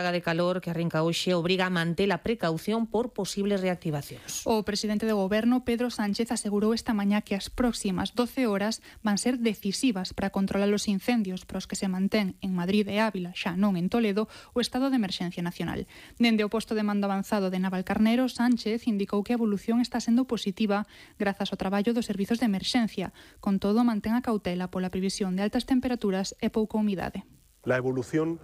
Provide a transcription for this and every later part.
De calor que arrinca hoxe obriga a manter a precaución por posibles reactivacións. O presidente do Goberno, Pedro Sánchez, asegurou esta mañá que as próximas 12 horas van ser decisivas para controlar os incendios pros que se mantén en Madrid e Ávila, xa non en Toledo, o estado de emerxencia nacional. Dende o posto de mando avanzado de Navalcarnero, Sánchez indicou que a evolución está sendo positiva grazas ao traballo dos servizos de emerxencia. Con todo, mantén a cautela pola previsión de altas temperaturas e pouca humidade. La evolución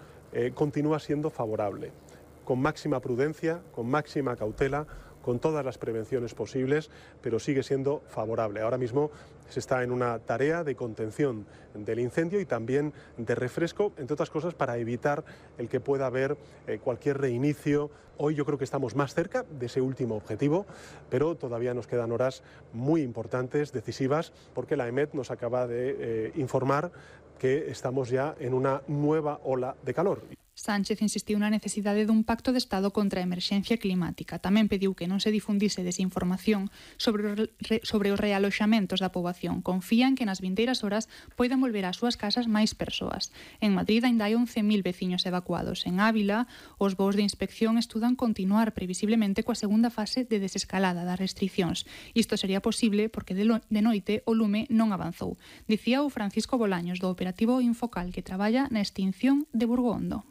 continúa siendo favorable, con máxima prudencia, con máxima cautela, con todas las prevenciones posibles, pero sigue siendo favorable. Ahora mismo se está en una tarea de contención del incendio y también de refresco, entre otras cosas, para evitar el que pueda haber cualquier reinicio. Hoy yo creo que estamos más cerca de ese último objetivo, pero todavía nos quedan horas muy importantes, decisivas, porque la EMET nos acaba de informar que estamos ya en una nueva ola de calor. Sánchez insistiu na necesidade dun pacto de Estado contra a emerxencia climática. Tamén pediu que non se difundise desinformación sobre os realoxamentos da poboación. Confían que nas vindeiras horas poidan volver ás súas casas máis persoas. En Madrid ainda hai 11.000 veciños evacuados. En Ávila, os voos de inspección estudan continuar previsiblemente coa segunda fase de desescalada das restriccións. Isto sería posible porque de noite o lume non avanzou. Dicía o Francisco Bolaños do operativo Infocal que traballa na extinción de Burgondo.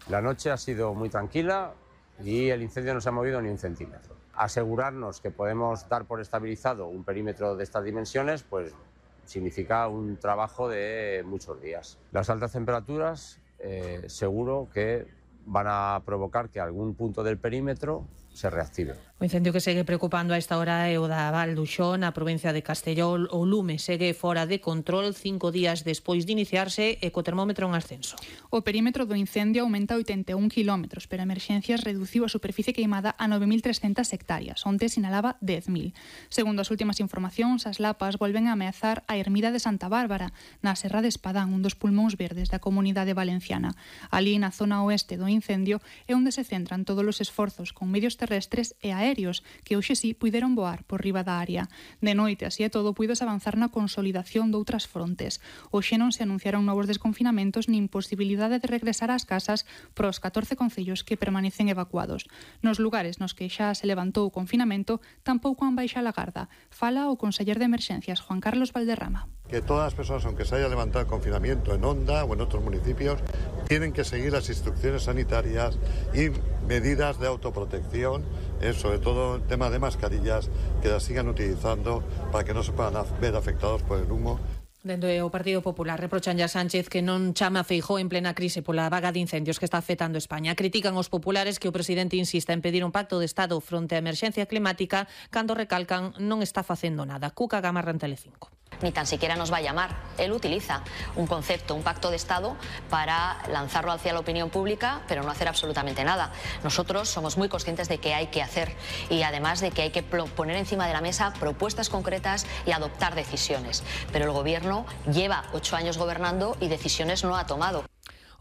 La noche ha sido muy tranquila y el incendio no se ha movido ni un centímetro. Asegurarnos que podemos dar por estabilizado un perímetro de estas dimensiones, pues significa un trabajo de muchos días. Las altas temperaturas seguro que van a provocar que algún punto del perímetro se reactive. O incendio que segue preocupando a esta hora é o da Val d'Uxó, na provincia de Castelló. O lume segue fora de control 5 días despois de iniciarse e co termómetro en ascenso. O perímetro do incendio aumenta 81 km, pero a emerxencias reduciu a superficie queimada a 9.300 hectáreas, onde sinalaba 10.000. Segundo as últimas informacións, as lapas volven a ameazar a ermida de Santa Bárbara, na Serra de Espadán, un dos pulmóns verdes da comunidade valenciana. Ali, na zona oeste do incendio, é onde se centran todos os esforzos con medios terrestres e aéreos, que hoxe sí puideron voar por riba da área. De noite, así e todo, puidos avanzar na consolidación doutras frontes. Hoxe non se anunciaron novos desconfinamentos nin posibilidade de regresar ás casas pros 14 concellos que permanecen evacuados. Nos lugares nos que xa se levantou o confinamento, tampouco han baixado a garda. Fala o conseller de Emerxencias, Juan Carlos Valderrama. Que todas las personas, aunque se haya levantado el confinamiento en Onda o en otros municipios, tienen que seguir las instrucciones sanitarias y medidas de autoprotección, sobre todo el tema de mascarillas, que las sigan utilizando para que no se puedan ver afectados por el humo. Dende o Partido Popular reprochan a Sánchez que non chama a Feijóo en plena crise pola vaga de incendios que está afectando España. Critican os populares que o presidente insista en pedir un pacto de Estado fronte á emerxencia climática cando recalcan non está facendo nada. Cuca Gamarra en Telecinco. Ni tan siquiera nos va a llamar. Él utiliza un concepto, un pacto de Estado, para lanzarlo hacia la opinión pública, pero no hacer absolutamente nada. Nosotros somos muy conscientes de que hay que hacer y además de que hay que poner encima de la mesa propuestas concretas y adoptar decisiones. Pero el Gobierno lleva 8 años gobernando y decisiones no ha tomado.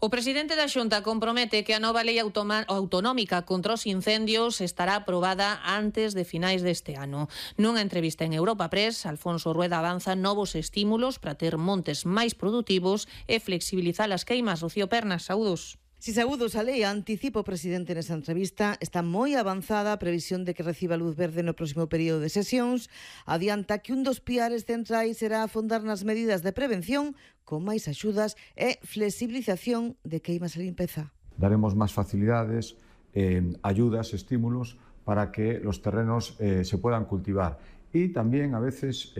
O presidente da Xunta compromete que a nova lei autonómica contra os incendios estará aprobada antes de finais deste ano. Nunha entrevista en Europa Press, Alfonso Rueda avanza novos estímulos para ter montes máis produtivos e flexibilizar as queimas. Rocío Pernas, saúdos. Si saúdos a lei, anticipa o presidente nesa entrevista, está moi avanzada a previsión de que reciba luz verde no próximo período de sesións. Adianta que un dos piares centrais será afondar nas medidas de prevención con máis axudas e flexibilización de queimas e limpeza. Daremos máis facilidades, ayudas, estímulos para que los terrenos se puedan cultivar. Y también a veces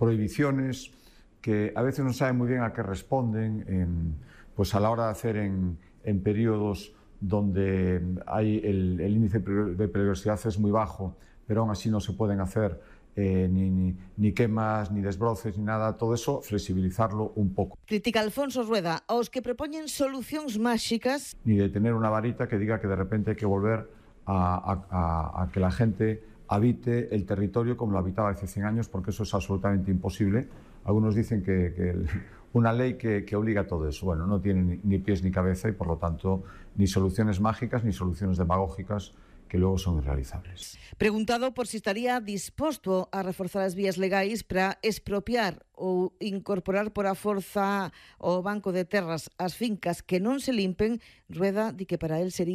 prohibiciones que a veces no saben muy bien a qué responden pues a la hora de hacer en periodos donde hay el índice de peligrosidad es muy bajo, pero aún así no se pueden hacer ni quemas, ni desbroces, ni nada, todo eso, flexibilizarlo un poco. Critica Alfonso Rueda aos que propoñen solucións máxicas. Ni de tener una varita que diga que de repente hay que volver a que la gente habite el territorio como lo habitaba hace 100 años, porque eso es absolutamente imposible. Algunos dicen que una ley que obliga a todo eso. Bueno, no tiene ni pies ni cabeza y por lo tanto ni soluciones mágicas ni soluciones demagógicas que luego son irrealizables. Preguntado por si estaría disposto a reforzar as vías legais para expropiar ou incorporar por a forza ao Banco de Terras as fincas que non se limpen, Rueda di que para él sería